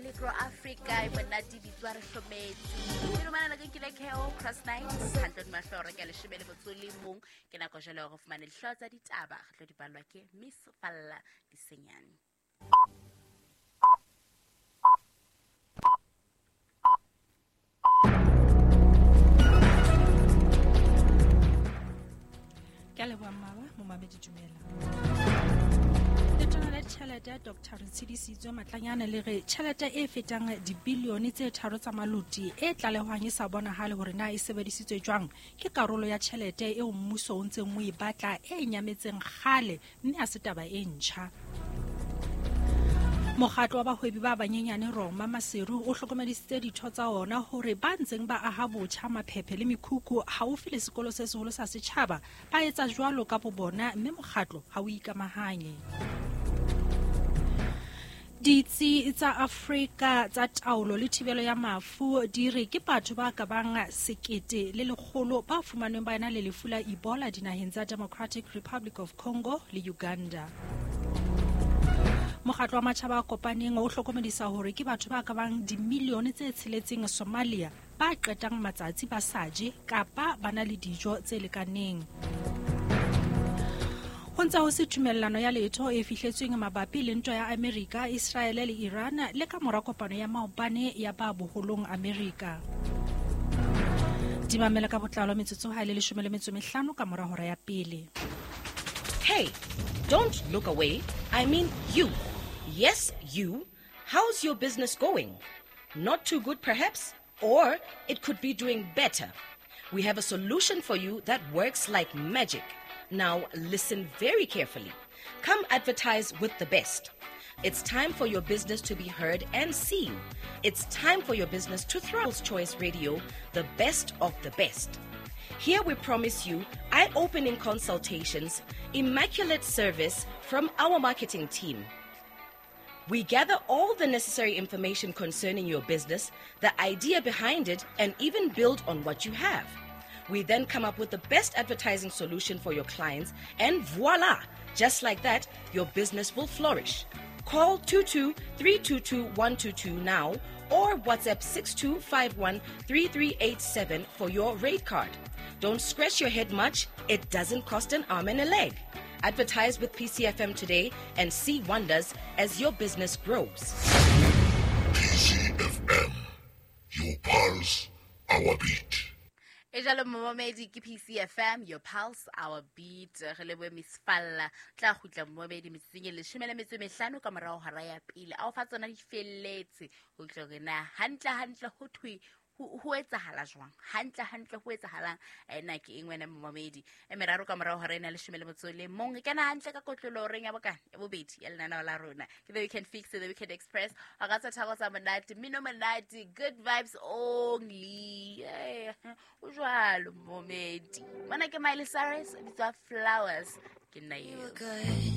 Metro Africa e monate bitswa re hlometse. Ke lumana le ke le Keo Cross Night hantle di mahlo re ka leshome le motso le mong ke nako jwale hore fumane dihlooho tsa ditaba re tlo di ballwa ke Miss Falla Disenyane. Ke a leboha mmaba momamedi dumela. Letona la ditjhelete Dr Retshidisitswe Matlanyane le re tjhelete e fetang dibilione tse tharo tsa maloti e tlalehwang e sa bonahale hore na e sebedisitswe jwang ke karolo ya tjhelete eo mmuso o ntseng o e batla e nyametseng kgale mme ha se taba e ntjha. Mokgatlo wa bahwebi ba banyenyane Roma Maseru o hlokomedisitse ditho tsa ona hore ba ntseng ba aha botjha maphephe le mekhukhu haufi le sekolo se seholo sa setjhaba ba etsa jwalo ka bobona mme mokgatlo ha o ikamahanye. Ditsi tsa Afrika tsa taolo le thibelo ya mafu di re ke batho ba ka bang 1100 ba fumanweng ba ena le lefu la Ebola dinaheng tsa Democratic Republic of Congo le Uganda. Mokgatlo wa matjhaba a kopaneng o hlokomedisa hore ke batho ba ka bang dimilione tse tsheletseng Somalia ba qetang matsatsi ba sa je kapa ba na le dijo tse lekaneng. Ho ntse ho se tumellano ya letho e fihletsweng mabapi le ntwa ya Amerika, Israele le Iran le ka mora kopano ya maobane ya ba boholong Amerika. Di mamela ka botlalo metsotso ha e le 15 ka mora hora ya pele. Hey, don't look away. I mean you. Yes, you. How's your business going? Not too good, perhaps? Or it could be doing better. We have a solution for you that works like magic. Now, listen very carefully. Come advertise with the best. It's time for your business to be heard and seen. It's time for your business to thrive. Choice Radio, the best of the best. Here we promise you eye-opening consultations, immaculate service from our marketing team. We gather all the necessary information concerning your business, the idea behind it, and even build on what you have. We then come up with the best advertising solution for your clients, and voila! Just like that, your business will flourish. Call 22-322-122 now or WhatsApp 6251-3387 for your rate card. Don't scratch your head much. It doesn't cost an arm and a leg. Advertise with PCFM today and see wonders as your business grows. PCFM, your pulse, our beat. E jalo momamedi ke PCFM, your pulse, our beat. Re lebohe Miss Falla. Tla kgutla momamedi metsotsong e 15 ka morao hora ya pele. A o fa tsona di felletse ho utlwa hore na hantle hantle ho thwe ho etsahala jwang, hantle hantle ho etsahalang. Ena ke eng wena momamedi? E meraro ka morao hora ena 11. E kena hantle ka kotlolo horeng ya bokana ya bobedi ya lenaneo la rona. Ke The Weekend Fix, The Weekend Express. Wa ka tsa thabo tsa monate, mmino monate, good vibes only. O jwalo momamedi. Mona ke Miley Cyrus, bitswa Flowers. Ke nna eo.